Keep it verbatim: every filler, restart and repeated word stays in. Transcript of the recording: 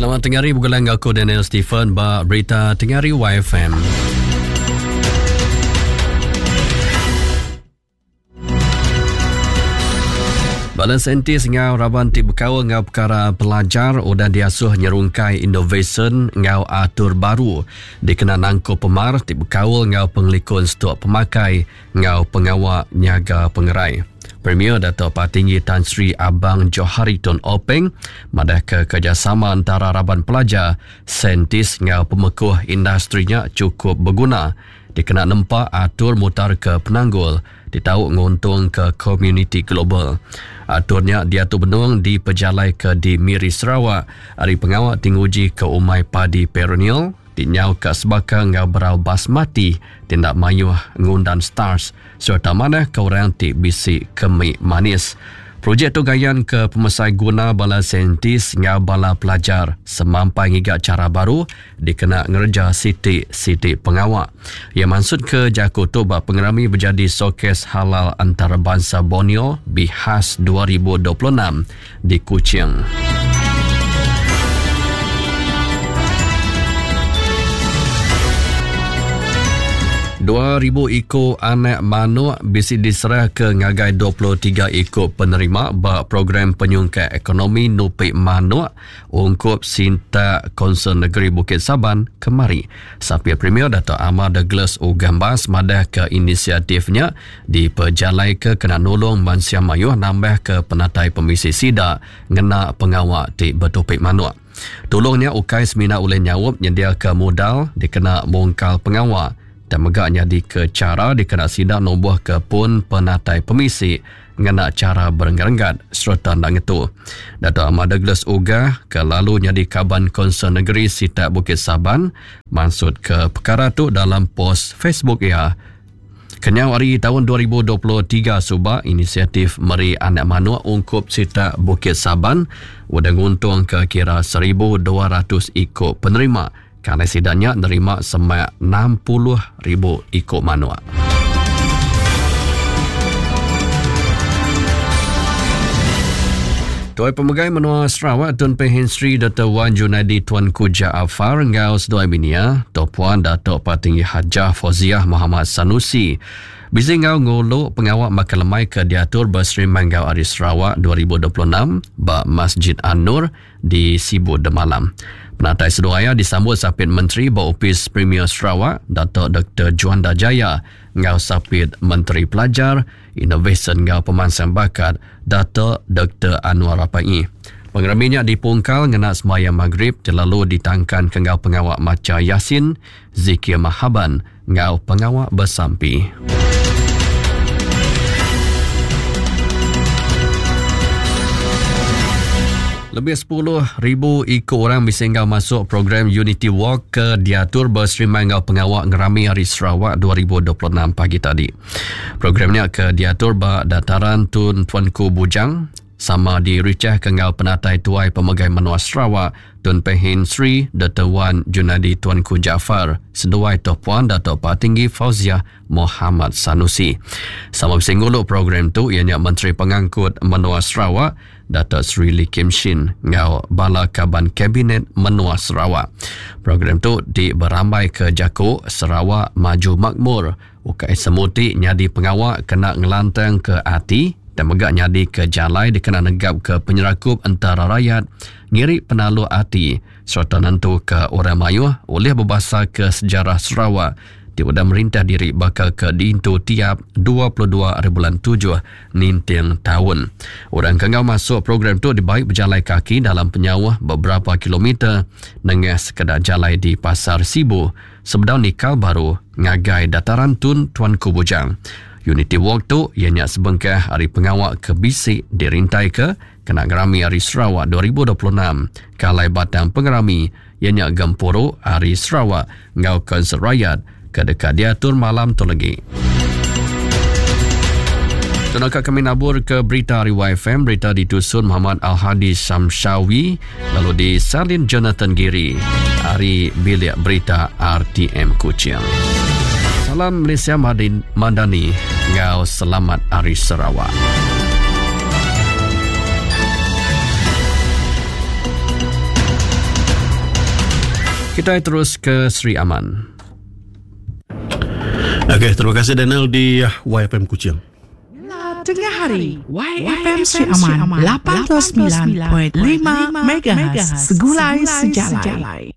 Selamat tengah hari bergulang aku Daniel Stephen ba berita tengah hari Y F M. Bala saintis ngau raban ti bekaul ngau perkara pelajar udah diasuh nyerungkai inovasyen ngau atur baru dikena nangkup pemar ti bekaul ngau pengelikun stok pemakai ngau pengawa nyaga pengerai. Premier Dato' Patinggi Tan Sri Abang Johari Tun Openg madah ke kerjasama antara raban pelajar, saintis ngau pemekuh industrinya cukup berguna dikena nempak atur mutar ke penanggul ditau nguntung ke komuniti global. Aturnya diatu benung di pejalai ke di Miri Sarawak hari pengawak tinguji ke umai padi perennial tinyau ke sebaka ngau berau basmati tindak mayuh ngundan stars serta mana ke orang ti bisi kemik manis. Projek tu gayan ke pemesai guna bala saintis ngau bala pelajar semampai ngiga cara baru dikena ngerja siti-siti pengawak. Ia maksud ke jaku tu bak pengerami berjadi showcase halal antarabangsa Borneo Bihas dua ribu dua puluh enam di Kuching. dua ribu iko anak manuk bisi diserah ke ngagai dua puluh tiga iko penerima ba program penyungkai ekonomi Nupik Manuk ungkup Sinta Konsel Negeri Bukit Saban kemari. Sapir Premier Dato' Amar Douglas Ugambas madah ke inisiatifnya dipejalai ke kena nolong mansia mayuh nambah ke penatai pemisi sida ngena pengawak ti betupik manuk. Tolongnya ukai semina oleh nyawab nyedia ke modal dikena mongkal pengawak dan megaknya di ke cara dikena sidak nomboh ke pun penatai pemisi ngena cara berenggat-renggat serta nak ngetu. Dato' Ahmad Douglas Uggah ke lalu nyadi kaban Konsel Negeri Sitak Bukit Saban maksud ke perkara tu dalam post Facebook ia. Kenyau hari tahun dua ribu dua puluh tiga subak inisiatif meri anak manuk ungkup Sitak Bukit Saban udah nguntung ke kira seribu dua ratus ikut penerima. Kerana sidaknya nerima semak enam puluh ribu ikut manuk. Tuai Pemegai Menua Sarawak Tun Pehin Sri Doktor Wan Junaidi Tuanku Jaafar ngau seduai binia Tok Puan Datuk Patinggi Hajah Fauziah Muhammad Sanusi bisi ngau ngulu pengawak makan lemai ke diatur berseri Manggau Ari Sarawak dua ribu dua puluh enam ba Masjid An-Nur di Sibu Demalam. Penatai seduaya disambut Sapit Menteri ba Opis Premier Sarawak Datuk Doktor Juanda Jaya ngau Sapit Menteri Pelajar Inovasi ngau Pemansang Bakat Datuk Doktor Annuar Rapaee. Pengeraminya dipungkal ngena semaya maghrib terlalu ditangkan ke ngau pengawak maca Yasin, zikir mahaban ngau pengawak bersampi. Lebih sepuluh ribu ikut orang bisa enggau masuk program Unity Walk ke diatur berseri ngau pengawak ngerami Hari Sarawak dua ribu dua puluh enam pagi tadi. Programnya ke diatur ba dataran Tun Tuanku Bujang sama diricah ke ngau penatai tuai pemegai menua Sarawak Tun Pehin Sri Doktor Wan Junaidi Tuanku Jaafar seduai Tok Puan Datuk Patinggi Fauziah Muhammad Sanusi. Sama bersinggung program tu ianya Menteri Pengangkut Menua Sarawak Datuk Seri Lee Kim Shin ngau bala kaban Kabinet Menua Sarawak. Program tu diberambai ke Jaku Sarawak Maju Makmur. Ukai semuti nyadi pengawak kena ngelantang ke ati dan megak nyadi ke jalai dikena negap ke penyerakup antara rakyat ngiri penalu ati serta nentu ke orang mayuh oleh berbahasa ke sejarah Sarawak di udah merintah diri bakal ke diintu tiap dua puluh dua hari bulan tujuh ninting tahun. Orang kengau masuk program tu dibaik berjalai kaki dalam penyauh beberapa kilometer nengah sekedar jalai di Pasar Sibu sebedau nikal baru ngagai dataran Tun Tuanku Bujang. Unity Walk tu ianya sebengkah hari pengawak ke bisik dirintai ke kena ngerami Hari Sarawak dua ribu dua puluh enam. Kalai batang pengerami ianya gempuru Hari Sarawak ngau konsert rakyat ke dekat diatur malam tu lagi. Tunaka kami nabur ke berita hari Y F M, berita ditusun Muhammad Al-Hadi Samshawi lalu disalin Jonathan Giri hari bilik berita R T M Kuching. Salam Malaysia Madani, ngau selamat Hari Sarawak. Kita terus ke Sri Aman. Okey, terima kasih Daniel di Y F M Kuching. Tengah hari Y F M Sri Aman lapan puluh semilan perpuluhan lima M H segulai sejalai.